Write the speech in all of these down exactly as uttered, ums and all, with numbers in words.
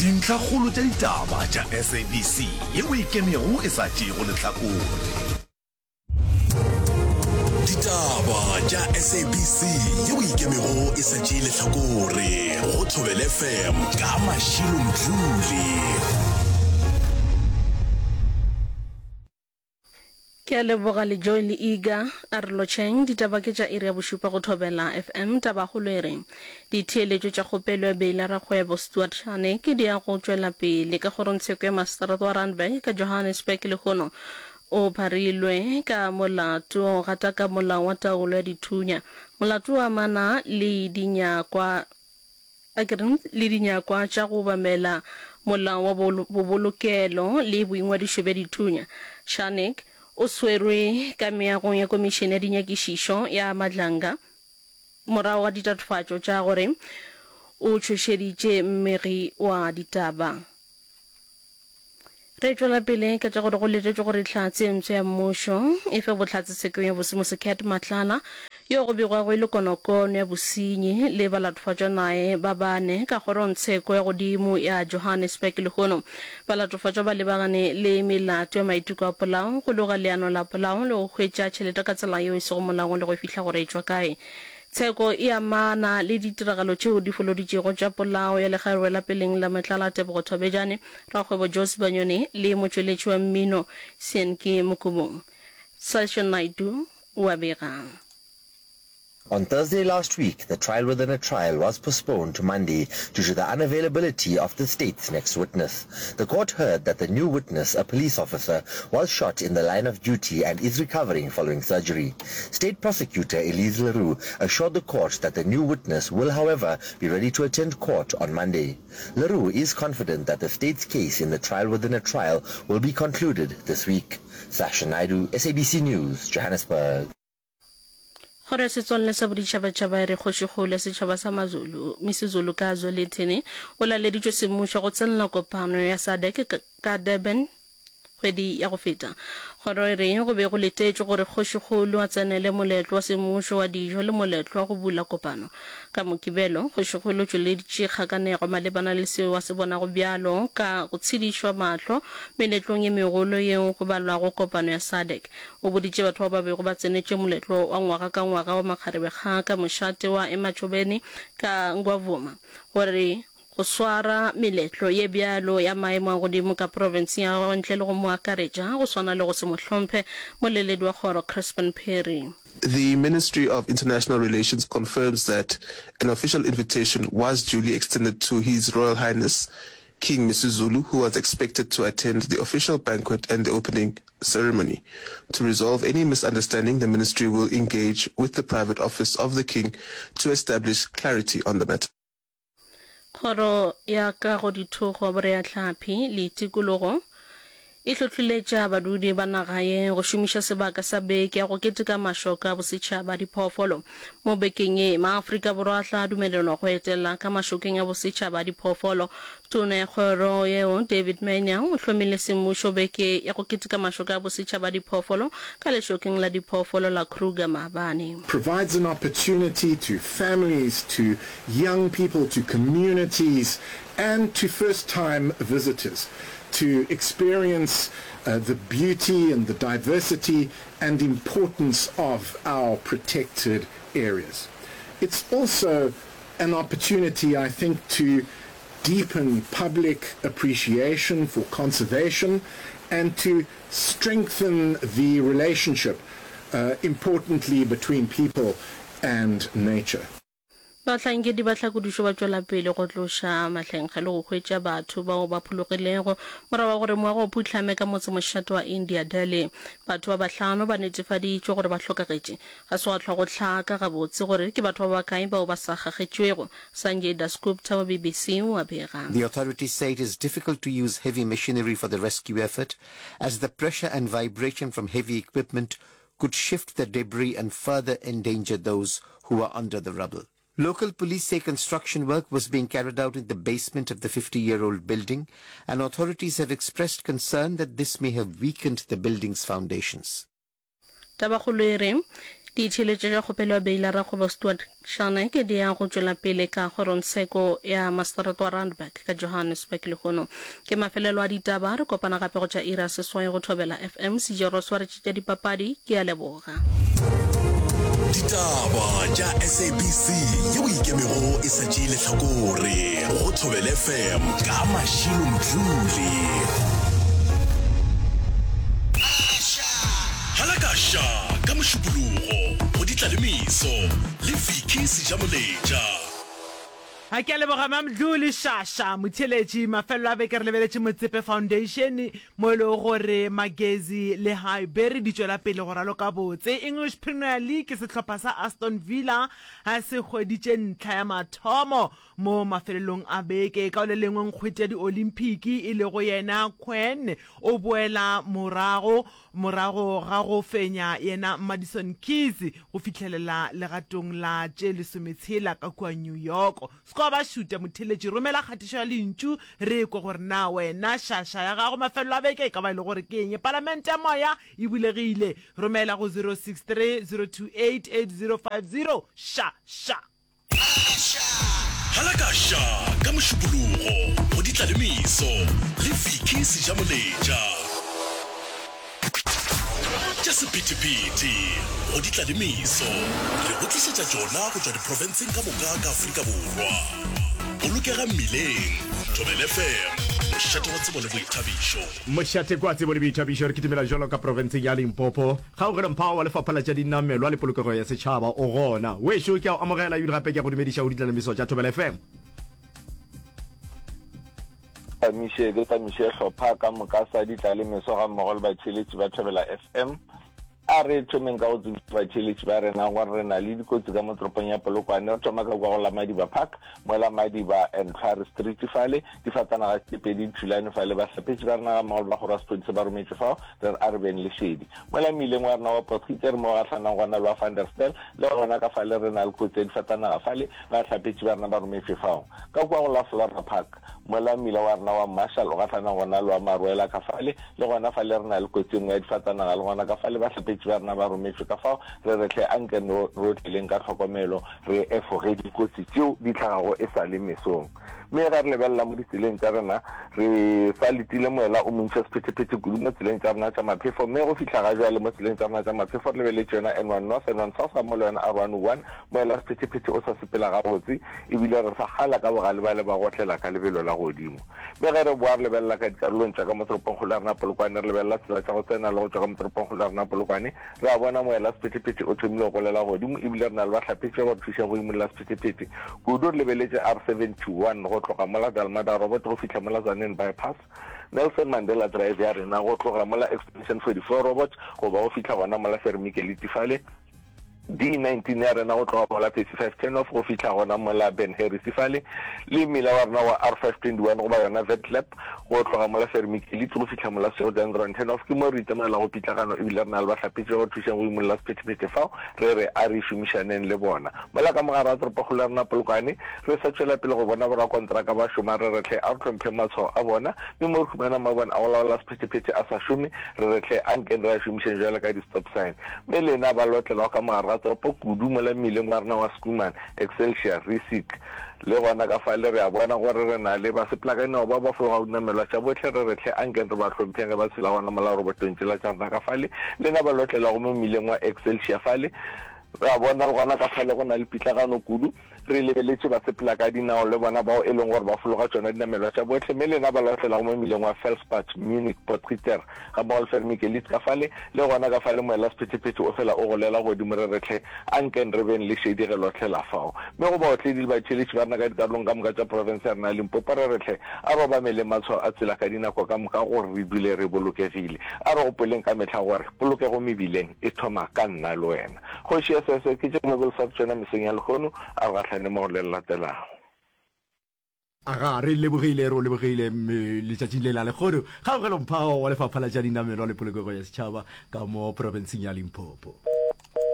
Dintlhakgolo tša ditaba tša S A B C yeo e ikemego e sa tšeego lehlakore. Ditaba tša S A B C yeo e ikemego e sa tšee lehlakore go Thobela F M ka Mashilo Mdluli. Ke a leboga le Joy le Iga. A re lotšheng. Ditaba ke tša iri ya bošupa go Thobela F M. Tabakgolo e re ditheeletšo tša kgopelo ya beile ya rakgwebo Stuart Scharnick di ya go tšwela pele ka kgorongtsheko ya maseterata wa Randburg ka Johannesburg lehono. O pharilwe ka molato wa go gataka molao wa taolo ya dithunya. Molato o amana le dinyakwa a ke re le dinyakwa tša go obamela molao wa bobolokelo le boingwadišo bja dithunya. Scharnick o swerwe ka meagong ya Komišene ya Dinyakišišo ya Madlanga morago ga ditatofatšo tša gore o tšhošeditše mmegi wa ditaba. Re tšwela pele ka tša gore go letetšwe gore hlatse e mpsha ya mmušo e fe bohlatse tshekong ya bosemosi Cat Matlala yo go begwago e le konokono ya bosenyi le balatofatšwa naye ba bane ka kgorongtsheko ya godimo ya Johannesburg lehono. Balatofatšwa ba lebagane le melato ya maiteko a polao, go loga leano la polao le go hwetša tšhelete ka tsela yeo e sego molaong le go e fihla gore e tšwa kae. Tsheko e amana le ditiragalo tšeo di foloditšego tša polao ya lekgarebe la peleng la Matlala Tebogo Thobejane, rakgwebo Joe Sibanyoni le motšweletši wa mmino Seanki Mokubung. Sasha Naidoo o a bega. On Thursday last week, the trial within a trial was postponed to Monday due to the unavailability of the state's next witness. The court heard that the new witness, a police officer, was shot in the line of duty and is recovering following surgery. State prosecutor Elise Leroux assured the court that the new witness will, however, be ready to attend court on Monday. Leroux is confident that the state's case in the trial within a trial will be concluded this week. Sasha Naidu, S A B C News, Johannesburg. Kgoro ya Setswalle sa Boditšhabatšhaba e re Kgošikgolo ya setšhaba sa Mazulu, Misuzulu ka Zwelithini, o laleditšwe semmušo go tsenela kopano ya SADC ka Durban kgwedi ya go feta. Kgoro e re go be go letetšwe gore Kgošikgolo a tsenele moletlo wa semmušo wa dijo le moletlo wa go bula kopano. Ka Mokibelo, Kgošikgolo o tšweleditše kgakanego malebana le seo a se bonago bjalo ka go tshedišwa mahlo meletlong ye megolo yeo go balwago kopano ya SADC. O boditše batho bao ba bego ba tsenetše moletlo wa ngwaga ka ngwaga wa Makgarebe ka mošate wa Emachobeni ka Ngwavuma gore go swara meletlo ye bjalo ya maemo a godimo ka profenseng ya gagwe ntle le go mo akaretša go swana le go se mo hlomphe. Moleledi wa kgoro Crispin Perry. The Ministry of International Relations confirms that an official invitation was duly extended to His Royal Highness King Misuzulu, who was expected to attend the official banquet and the opening ceremony. To resolve any misunderstanding, the ministry will engage with the private office of the king to establish clarity on the matter. Kgoro ya Kago Dithogo, Boreahlapi le Tikologo e hlohleletša badudi ba naga ye go šomiša sebaka sa beke ya go keteka mašoka a bosetšhaba a diphoofolo. Mo bekeng ye, maAfrika Borwa a tla dumelelwa go etela ka mašokeng a bosetšhaba a diphoofolo. Tona ya kgoro yeo, David Maynier, o hlomile semmušo beke ya go keteka mašoka a bosetšhaba a diphoofolo ka lešokeng la diphoofolo la Kruger maabane. Provides an opportunity to families, to young people, to communities and to first-time visitors to experience uh, the beauty and the diversity and importance of our protected areas. It's also an opportunity, I think, to deepen public appreciation for conservation and to strengthen the relationship, uh, importantly, between people and nature. Bahlankedi ba tlhakodišo ba tšwela pele go tloša mahlenkge le go hwetša batho bao ba phologilego morago ga gore moago o phuhlame ka motsemošate wa India, Delhi. Batho ba bahlano ba netefaditšwe gore ba hlokagetše. Ga se gwa hlwa go hlaka gabotse gore ke batho ba bakae bao ba sa kgakgetšwego. Sanjay Dasgupta wa B B C o a bega. The authorities say it is difficult to use heavy machinery for the rescue effort as the pressure and vibration from heavy equipment could shift the debris and further endanger those who are under the rubble. Local police say construction work was being carried out in the basement of the fifty-year-old building, and authorities have expressed concern that this may have weakened the building's foundations. Tabakgolo e re, Ditšheletšo tša kgopelo ya beila Rakgwebo Stuart Scharnick di ya go tšwela pele ka kgorongtsheko ya maseterata wa Randburg ka Johannesburg lehono. Ke mafelelo a ditaba, re kopana gape go tša iri ya seswai go Thobela F M. Sejoro swaretše tša dipapadi, ke a leboga. Ditaba tša S A B C yeo e ikemego e sa tšee lehlakore go Thobela F M ka Mashilo Mdluli. Halakaša ka Mošupologo go Ditlalemeso le Vicky Sejamoletša. A ke a leboga Mamdluli Shasha motheeletši. Mafelelo a beke re lebeletše Motsepe Foundation mo e lego gore Magezi le Highbury di tšwela pele go raloka botse. English Premier League sehlopha sa Aston Villa se hweditše ntlha ya mathomo mo mafelelong a beke. Ka le lengwe nkgwete ya di-Olympic e lego yena Quen o boela morago morago ga go fenya yena Madison Keys go fihlelela legatong la tše lesometshela ka kua New York. Score ba šuta motheeletši romela kgatišo ya lentšu re kwe gore na wena šaša ya gago mafelelo a beke e ka ba e le gore ke eng. Palamente ya moya e bulegile romela go zero six three zero two eight eight zero five zero ša ša. Halakaša ka Mošupologo go Ditlalemeso le Vicky Sejamoletša. Tša sephethephethe go Ditlalemeso re go tlišetša tšona go tšwa diprofenseng ka moka ka Afrika Borwa. Bolokega mmileng. Thobela F M, mošate wa tsebo le boithabišo. Mošate kwa tsebo le boithabišo re kitimela jwalo ka profenseng ya Limpopo. Kgaugelo Mphawa wa Lefapha la tša Dinamelwa le Polokego ya Setšhaba o gona. Wešo ke a o amogela ebile gape ke a go dumediša go Ditlalemeso tša Thobela F M. Tamiše ke tamiše hlopha ka moka sa Ditlalemeso gammogo le batheeletši ba Thobela F M. A re thomeng ka go tsebiša batheeletši ba rena gore re na le dikotsi ka mo toropong ya Polokwane. Re thoma ka kua go la Madiba Park, mola Madiba and Tlhware Street fale, difatanaga tše pedi di thulane fale. Bahlapetši ba rena gammogo le ba kgoro ya sephodisa ba rometšwe fao, re re a re beng le šedi. Mola mmileng wa rena wa Potgieter mo go gahlanang gona le wa Van der Stel, le gona ka fale re na le kotsi ya difatanaga fale, bahlapetši ba rena ba rometšwe fao. Ka kua go la Flora Park, mola mmila wa rena wa Marshall o gahlanang gona le wa Maruela ka fale, le gona fale re na le kotsi e nngwe ya difatanaga, le gona ka fale bahlapetši ba rena ba rometšwe. Ka fao re re hle anke re otleleng ka tlhokomelo, re efoge dikotsi tšeo di hlagago e sa le mesong. Mme ge re lebelela mo ditseleng tša rena, re sa letile moela o montši wa sephethephethe kudu mo tseleng tša rena tša maphefo. Mme go fihla ga bjale mo tseleng tša rena tša maphefo re lebeletše yona N one North, N one South gammogo le yona R one oh one, moela wa sephethephethe o sa sepela gabotse e bile re sa kgala ka bogale ba le ba gotlela ka lebelo la godimo. Mme ge re boa re lebelela ka dikarolong tša ka mo toropongkgolo ya rena Polokwane, re lebelela tsela tša go tsena le go tšwa ka mo toropongkgolo ya rena Polokwane, re a bona moela wa sephethephethe o thomile go golela godimo e bile re na le bahlapetši ba ba re thušang go imolla sephethephethe kudu. Re lebeletše R seventy one go tloga mola Dalmada Robot go fihla mola Tzaneen Bypass, Nelson Mandela Drive ya rena go tloga mola Extension forty four Robot go ba go fihla gona mola Fermikeliti fale, D nineteen ya rena go tloga mola thirty five turn off go fihla gona mola Ben Harris fale, le mmila wa rena wa R five twenty one goba yona Vetlab go tloga mola Fermikeliti go fihla mola Seodendron turn off. Ke mo re itemogela go pitlagano ebile re na le bahlapetši ba ba thušang go imolla sephethephethe fao, re re a re šomišaneng le bona. Mola ka mogare ga toropokgolo ya rena Polokwane, re sa tšwela pele go bona borakontraka ba šoma, re re hle a re hlompheng matshwao a bona, mme mo re humana mabone a go laola sephethephethe a sa šome, re re hle a nkeng re a šomišeng bjalo ka di-stop sign. Mme lena ba lotlelago ka mogare ga toropo kudu mola mmileng wa rena wa Schoeman, Excelsior, Rissik, le gona ka fale re a bona gore re na le basepelakaneo bao ba fologago dinamelwa tša bohle, re re hle a nkeng re ba hlompheng ge ba tshela gona mola robotong tšela tša rena ka fale. Lena ba lotlelago mo mmileng wa Excelsior fale, re a bona le gona ka fale go na le pitlagano kudu. Re lebeletše basepela ka dinao le bona bao e leng gore ba fologa tšona dinamelwa tša bohle, mme lena ba lahlelago mo mmileng wa Felspad, Munich, Potgieter, gammogo le Vermikelitz ka fale, le gona ka fale moela sephethephethe o fela o golela godimo re re hle, anken re beng le šedi ge lohlela fao. Mme go baotledi le batheeletši ba rena ka dikarolong ka moka tša profense ya rena ya Limpopo re re hle, a re obameleng matshwao a tsela ka dinako ka moka gore re dule re bolokegile. A re gopoleng ka mehla gore polokego mebileng e thoma ka nna le wena. Kgoši S S ke tše Nobel sa tšona mesong ya lehono, a re gahlane mo go le le latelago. Aga, re lebogile, re o lebogile letšatšing le la lehono. Kgaogelo Mphao wa Lefapha la tša Dinamelwa le Polokego ya Setšhaba ka mo profenseng ya Limpopo.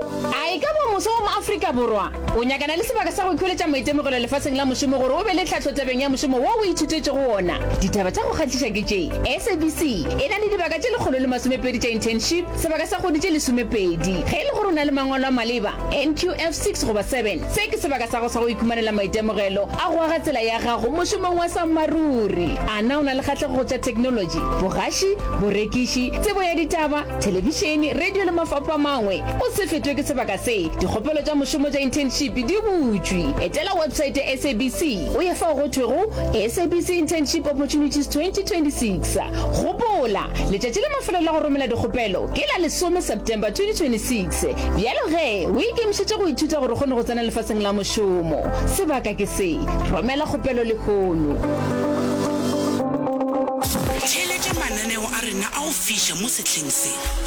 A e ka ba moswa wa mo-Afrika Borwa o nyakana le sebaka sa go ikhweletša maitemogelo lefaseng la mošomo gore o be le tlhahlo tabeng ya mošomo wo o ithutetšego wona? Ditaba tša go kgahliša ke tše, SABC e na le dibaka tše lekgolo le masomepedi tša internship, sebaka sa kgwedi tše lesomepedi. Ge e le gore o na le mangwalo a maleba, NQF six goba seven, se ke sebaka sa gago sa go ikhumanela maitemogelo a go aga tsela ya gago mošomong wa sammaruri. A na o na le kgahlego go tša theknolotši, bogaši, borekiši, tsebo ya ditaba, thelebišene, radio le mafapho a mangwe? O se fetwe ke sebaka se. Dikgopelo tša mošomo tša internship di butšwe. Etela websaete ya SABC o ye fao go thwego SABC Internship Opportunities twenty twenty six. Gopola, letšatši la mafelelo la go romela dikgopelo ke la lesome September twenty twenty six. Bjalo ge, o ikemišetše go ithuta gore o kgone go tsena lefaseng la mošomo. Sebaka ke se. Romela kgopelo lehono. Theeletša mananeo a rena a go fiša mo sehleng se.